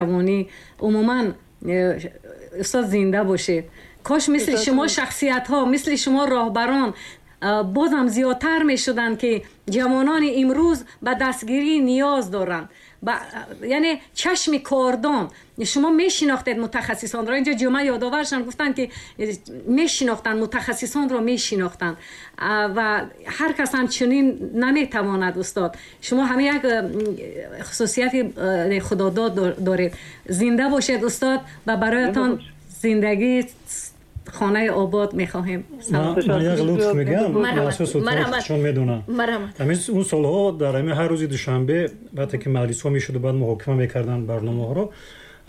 Меҳрубонӣ. Умуман, устод, зинда бошед. Кош мисли шумо шахсиятҳо, мисли шумо роҳбарон бозам зиёдтар мешуданд, ки ҷавонони имрӯз ба дастгирӣ ниёз доранд, яъне чашми кордон. Шумо мешинохтед мутахассисонро. Инҷо ҷумъа ёдоваршон гуфтанд, ки мешинохтанд мутахассисонро, мешинохтанд, ва ҳар кас ҳам чунин наметавонад. Устод, шумо ҳама як хусусияти худодод доред. Зинда бошед, устод, ва бароятон зиндагии хонаи обод мехоҳем. Ман як лутф мегӯям, чун медонам, ҳамин он солҳо дар ҳамин ҳар рӯзи душанбе, вақте ки маҷлисҳо мешуду баъд муҳокима мекарданд барномаҳоро,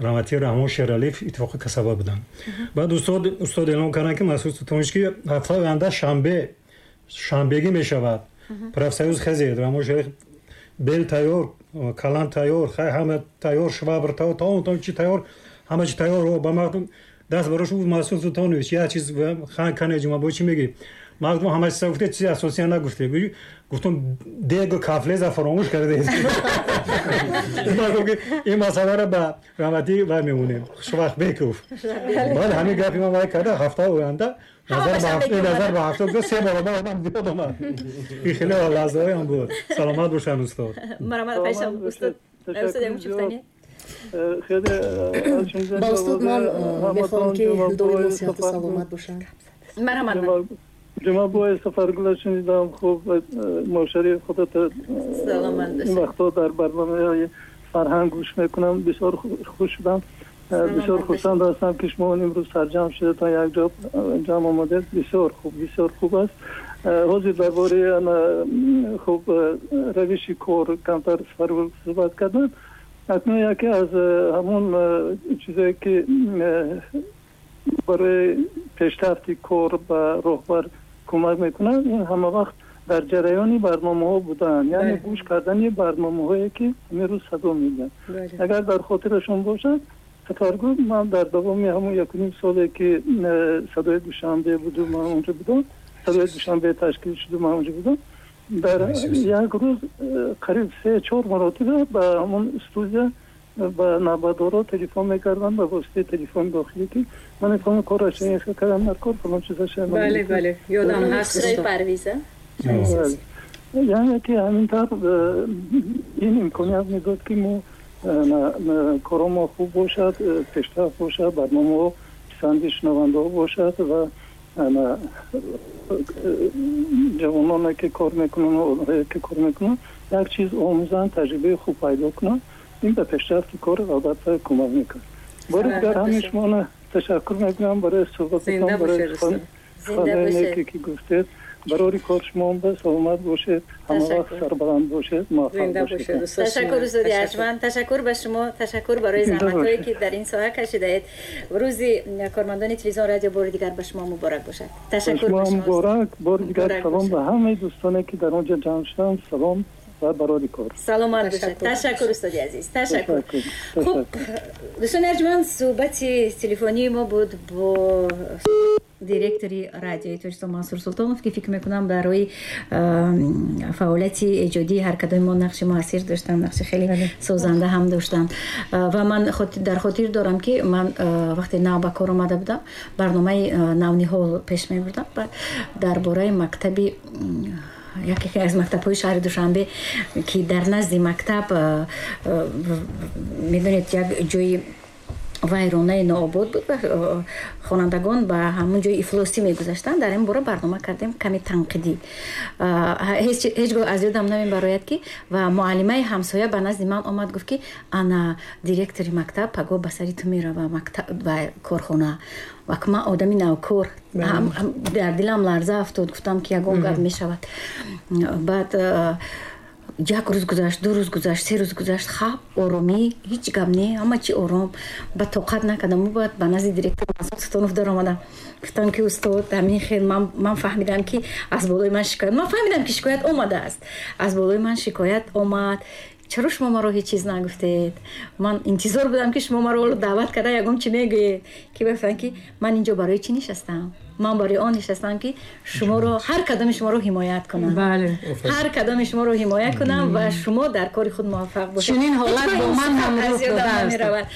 раҳматии Раҳмон Шералиев, Иттифоқи касаба буданд. Баъд устод эълон карданд, ки Масуд Султонович, ки ҳафтаи оянда шанбе шанбегӣ мешавад, профсоюз хезед. Раҳмон Шералиев бел тайёр, калам тайёр, ҳама тайёр, швабр тайёр, тамом чи тайёр, ҳама чи тайёр. Ба мардум даст барош гуфт: «Масуд Султонович, як чиз хан кане, Ҷумабой, чӣ мегӣ? Мардум ҳама чиза гуфте, чизи асосия нагуфте». Гуфтум: «Дегу кафлеза фаромӯш кардед». Ин масъаларо ба раҳматӣ вай мемонем, Хушвақтбеков. Баъд ҳамин гапи ман вай карда, ҳафтаи оянда назар ба ҳафта се баробар одам зиёд омад. Ин хеле лаҳзаҳоям буд. Саломат бошанд, устод. Устод. Ба устод ман мехоҳам, ки доимо сиҳату саломат бошанд. Марҳамат. Ҷумъабой Сафаргула шунидам. Хуб, мошари худата ин вақтҳо дар барномаҳои фарҳанг гӯш мекунам. Бисёр хуш шудам, бисёр хурсанд ҳастам, ки шумо имрӯз сарҷамъ шудатон, якҷо ҷамъ омадед. Бисёр хуб, бисёр хуб аст. Ҳозир дар бораи хуб равиши кор камтар Сафаргул суҳбат кардам. Акнун яке аз ҳамон чизое, ки барои пешрафти кор ба роҳбар кӯмак мекунад, ин ҳама вақт дар ҷараёни барномаҳо будан, яъне гӯш кардани барномаҳое, ки ҳамин рӯз садо медиҳанд. Агар дар хотирашон бошад, Сафаргул, ман дар давоми ҳамон 1.5 соле, ки Садои Душанбе буду, ман онҷо будам, Садои Душанбе ташкил шуду, ман онҷо будам, дар як рӯз қариб се чор маротиба ба ҳамон студия, ба навбатдоро телефон мекардам ба воситаи телефони дохилӣ, ки ман фалон кораш кардам, дар кор фалон чизаша. Бале, ёдам ҳаст. Парвиза. Яъне ки ҳамин тавр ин имконият медод, ки мо коро мо хуб бошад, пешрафт бошад, барномаҳо писанди шунавандаҳо бошад ва ҷавононе, ки кор мекунанд, онҳое, ки кор мекунанд, як чиз омӯзанд, таҷрибаи хуб пайдо кунанд. Ин ба пешрафти кор албатта кӯмак мекунад. Бори дигар ҳамин шуморо ташаккур мекунам барои суҳбататон, барои суханоне, ки гуфтед. Барори кор шумо ба саломат бошед, ҳама вақт сарбаланд бошед, муваффақ бошед. Ташаккур, устоди арҷманд, ташаккур ба шумо, ташаккур барои заҳматҳое, ки дар ин соҳа кашидаед. Рӯзи кормандони телевизион, радио бори дигар ба шумо муборак бошад. Ташаккур. Шумо муборак. Бори дигар салом ба ҳамаи дӯстоне, ки дар он ҷо ҷамъ шуданд, салом ва барори кор. Саломат бошед. Ташаккур, устоди азиз, ташаккур. Хуб, дӯстони арҷманд, суҳбати телефонии мо буд бо директори Радиои Тоҷикистон Мансур Султонов, ки фикр мекунам, барои фаъолияти эҷодии ҳар кадоми мо нақши муассир доштанд, нақши хеле созанда ҳам доштанд. Ва ман дар хотир дорам, ки ман вақте нав ба кор омада будам, барномаи Навниҳол пеш мебурдам дар бораи мактаби, яке аз мактабҳои шаҳри Душанбе, ки дар назди мактаб, медонед, як ҷои вайронаи нообод буд ва хонандагон ба ҳамон ҷои ифлосӣ мегузаштанд. Дар ин бора барнома кардем, каме танқидӣ. Ҳеҷ гоҳ аз ёдам намебарояд, ки ва муаллимаи ҳамсоя ба назди ман омад, гуфт, ки ана директори мактаб пагоҳ ба сари ту мерава ба корхона. Ва ман одами навкор, дар дилам ларза афтод, гуфтам, ки ягон гап мешавад. Баъд як рӯз гузашт, 2 рӯз гузашт, 3 рӯз гузашт, хаб, оромӣ, ҳеҷ гап не, ҳама чи ором. Ба тоқат накардам, баъд ба назди директор Мансур Султонов даромадам, гуфтам, ки устод, ҳамин хел ман фаҳмидам, ки аз болои ман шикоят, ман фаҳмидам, ки шикоят омадааст, аз болои ман шикоят омад. Чаро шумо маро ҳеҷ чиз нагуфтед? Ман интизор будам, ки шумо маро даъват карда ягон чи мегӯед, ки бифаҳмед, ки ман инҷо барои чӣ нишастам. Ман барои он нишастам, ки шуморо, ҳар кадоми шуморо ҳимоят кунам. Ҳар кадоми шуморо ҳимоят кунам ва шумо дар кори худ муваффақ бошед. Чунин ҳолат бо ман ҳам рух додааст.